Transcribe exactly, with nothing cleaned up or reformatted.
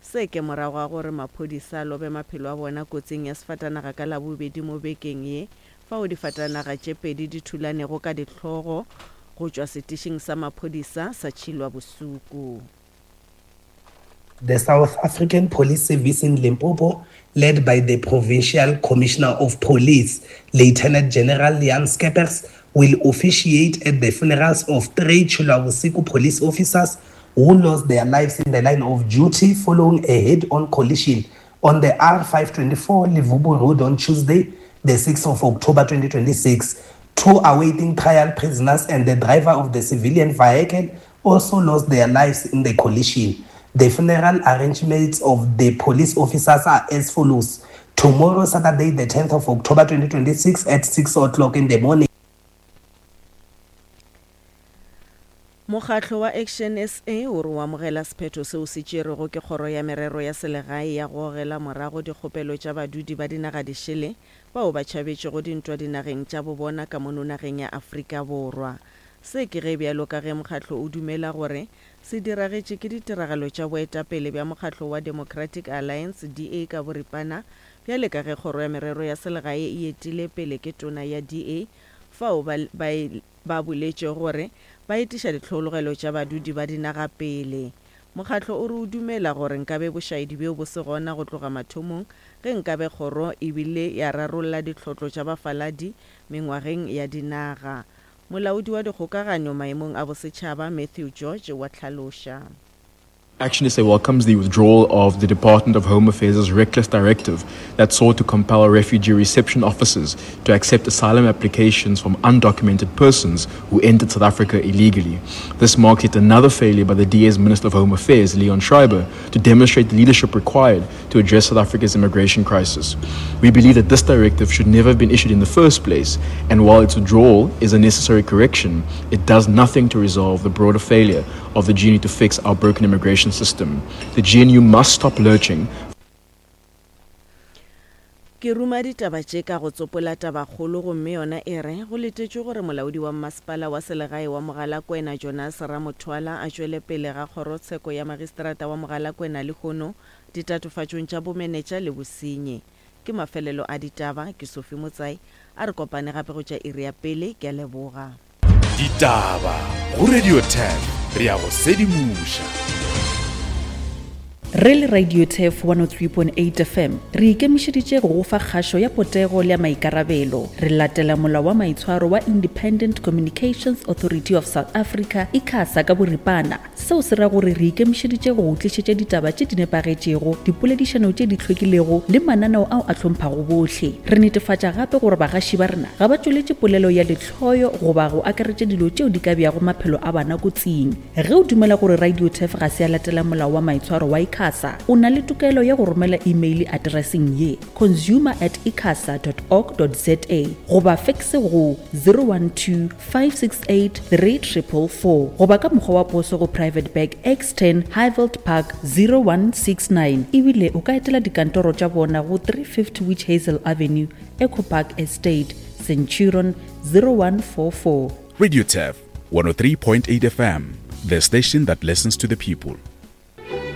Se ke morago ga gore maphodisa a lobe maphelo a bona kotsing ya sefatanaga ka Labobedi mo bekeng ye fao difatanaga tše pedi di thulanego ka dihlogo go tšwa setišing sa maphodisa sa Tšhilwa-Bosuku. The South African Police Service in Limpopo, led by the Provincial Commissioner of Police, Lieutenant General Jan Scheepers, will officiate at the funerals of three Tshilwavhusiku police officers who lost their lives in the line of duty following a head-on collision on the R five twenty-four Levubu Road on Tuesday, the sixth of October twenty twenty-six. Two awaiting trial prisoners and the driver of the civilian vehicle also lost their lives in the collision. The funeral arrangements of the police officers are as follows. Tomorrow, Saturday, the tenth of October twenty twenty-six at six o'clock in the morning. Mokgatlo wa Action S A o re o amogela sephetho seo se tšerwego ke Kgoro ya Merero ya Selegae ya go gogela morago dikgopelo tša badudi ba dinaga dišele bao ba tšhabetšego dintwa dinageng tša bobona ka mono nageng ya Afrika Borwa. Se ke ge bjalo ka ge mokgatlo o dumela gore se diragetše ke ditiragalo tša boetapele bja mokgatlo wa Democratic Alliance D A ka boripana bjale ka ge Kgoro ya Merero ya Selegae e etile pele ke tona ya D A fao ba, ba, ba boletše gore ba etiša ditlhologelo tša badudi ba dinaga pele. Mokgatlo o re o dumela gore nkabe bošaedi bjo bo se gona go tloga mathomong ge nkabe kgoro e bile ya rarolla ditlhotlo tša bafaladi mengwageng ya dinaga. Molaodi wa dikgokaganyo maemong a bosetšhaba Matthew George wa hlaloša. Action S A welcomes the withdrawal of the Department of Home Affairs' reckless directive that sought to compel refugee reception officers to accept asylum applications from undocumented persons who entered South Africa illegally. This marks yet another failure by the D A's Minister of Home Affairs, Leon Schreiber, to demonstrate the leadership required to address South Africa's immigration crisis. We believe that this directive should never have been issued in the first place, and while its withdrawal is a necessary correction, it does nothing to resolve the broader failure of the G N U to fix our broken immigration system. The G N U must stop lurching. Ke ruma ditaba tše ka go tsopola tabakgolo gomme yona e re go letetšwe gore molaodi wa mmasepala wa selegae wa Mogalakwena Jonas Ramothwala a tšwele pele ga kgorotsheko ya magistrata wa Mogalakwena lehono ditatofatšong tša bomenetša le bosenyi. Ke mafelelo a ditaba, ke Sophie Motsai, a re kopane gape go tša iri ya pele, ke a leboga. Ditaba go Radio ten, re ya go sedimoša. Re le Radio Turf one oh three point eight F M, re ikemišeditše go go fa kgašo ya potego le ya maikarabelo. Re latela molao wa maitshwaro wa Independent Communications Authority of South Africa, ICASA ka boripana. Seo se ra gore re ikemišeditše go go tlišetša ditaba tše di nepagetšego, dipoledišano tše di hlwekilego le mananeo ao a hlomphago bohle. Re netefatša gape gore bagaši ba rena ga ba tšweletše polelo ya lehloyo goba go akaretša dilo tšeo di ka beago maphelo a bana kotsing. Ge o dumela gore Radio Turf ga se ya latela molao wa maitshwaro wa ICASA, o na le tokelo ya go romela email addresseng ye consumer at icasa dot org dot za goba fax go zero one two five six eight three triple four goba ka mokgwa wa poso go Private Bag X ten Highveld Park zero one six nine. Ebile o ka etela dikantoro tša bona go three fifty Witch Hazel Avenue, Echo Park Estate, Centurion zero one four four. Radio Turf one oh three point eight F M, the station that listens to the people.